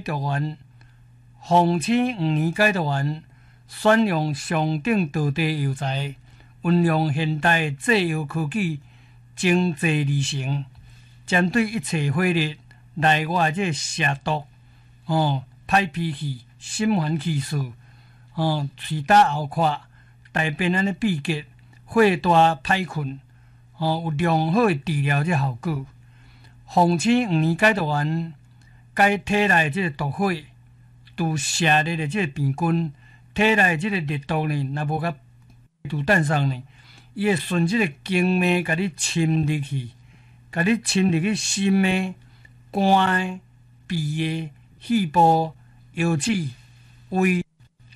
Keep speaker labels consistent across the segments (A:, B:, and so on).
A: 毒丸，鳳青黃連解毒丸，選用上等道地藥材，運用現代製藥科技精製而成，針對一切火熱內外這個邪毒，哦，歹脾氣、心煩氣躁，哦，喙焦喉渴、大便按呢秘結、火大歹睏，哦，有良好的治療這效果。鳳青黃連解毒丸解體內這個毒火，除邪熱的這個病菌，體內這個熱毒呢，若無共除散送呢，伊會順這個經脈共你侵入去，共你侵入去心的、肝的、脾的、肺部、腰子、胃、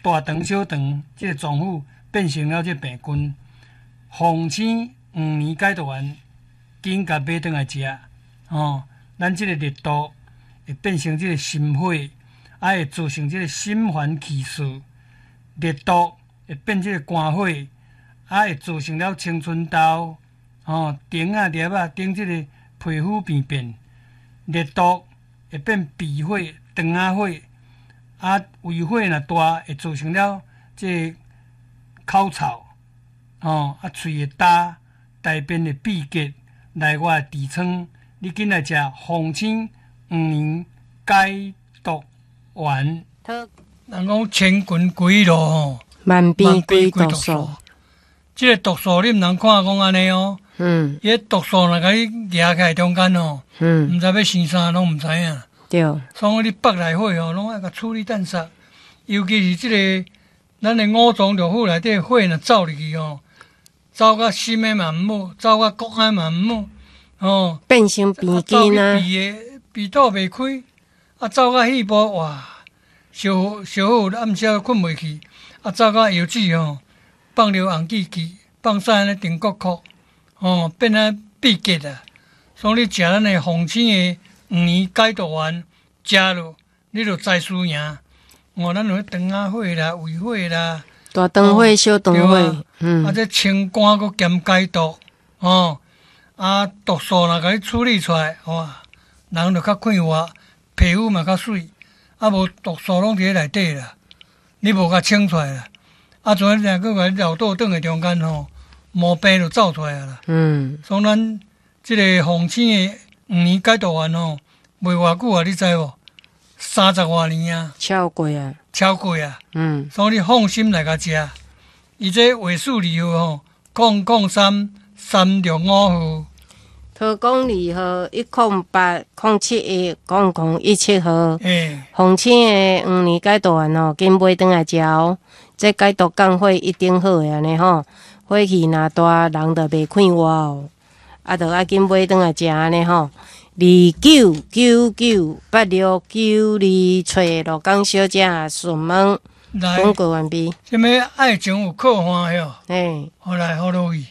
A: 大腸、小腸這個臟腑，變成了這個病菌。鳳青黃連解毒丸，緊共買轉來食，哦，咱這個熱毒會變成這個心火，啊會造成這個心煩氣躁，熱毒會變這個肝火，啊會造成了青春痘，哦，腸仔粒仔頂這個皮膚病變，熱毒會變脾火、腸仔火，啊胃火若大會造成了這個口臭，哦，啊喙會焦，大便會秘結，內外痔瘡，你緊來食鳳青黃連解毒丸。人講千群歸路吼，
B: 萬病歸毒素。
A: 這個毒素你毋通看講按呢哦。伊個毒素若共你夯起來中間吼，毋知欲生啥攏毋知影。所以你腹內火吼，攏愛共處理淡殺。尤其是這個咱的五臟六腑內底火若走入去吼，走到心的嘛毋好，走到骨的嘛毋好，吼。
B: 變成病菌啊。
A: 走去脾的，脾吐袂開，啊，走到肺部哇，燒燒好暗時睏袂去，啊，走到腰子吼，放尿紅記記，放屎按呢定國國，吼，變啊秘結啊。所以你食咱的鳳青的黃連解毒丸，食落你就知輸贏。哦，咱有腸仔火啦、胃火啦，
B: 大腸火、小腸火，
A: 啊，這清肝閣兼解毒，哦，啊，毒素若共你處理出來，哇，人就較快活，皮膚嘛較媠，啊，無毒素攏佇咧內底啦，你無共清出來啦，啊，像你閣共你漏倒轉的中間吼，毛病就走出來啦。所以咱這個鳳青的黃連解毒丸吼，賣偌久啊？你知無？30外年啊，
B: 超過啊，
A: 超過啊。所以你放心來共食。伊這尾數二號吼，003-365號。
B: 桃江二號108-071-0017號。鳳青的黃連解毒丸吼，緊買轉來食哦。這解毒降火一定好的按呢吼，火氣若大，人就袂快活哦。啊，就愛緊買轉來食按呢吼。29998692，揣鹿港小姐詢問。廣告完畢。
A: 啥物愛情有靠岸喲？
B: 嘿。
A: 好來，好落去。